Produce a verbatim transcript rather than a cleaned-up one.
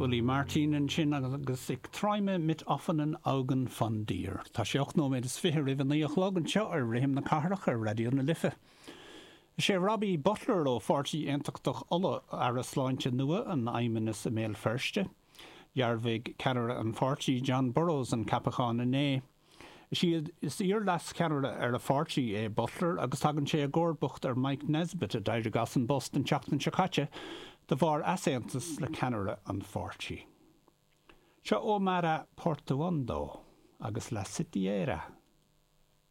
Uli Martin ansin agus Ich träume mit offenen Augen von dir. Tá sé ocht nóiméad is fiche roimh a naoi a chlog anseo ar Rithim na Cathrach ar Raidió na Life. Is é Robbie Butler ó Pháirtí Aontachtach Uladh Aire Sláinte nua an Fheidhmeannais i mBéal Feirste. Dhearbhaigh ceannaire an pháirtí Jon Burrows an ceapachán inné. Is iad is iar-leascheannaire ar a pháirtí é Butler agus tagann sé i gcomharbacht ar Mike Nesbitt a d'éirigh as an bpost an tseachtain seo caite de bharr easaontas le ceannaire an pháirtí. Seo Omara Portuondo agus La Sitiera.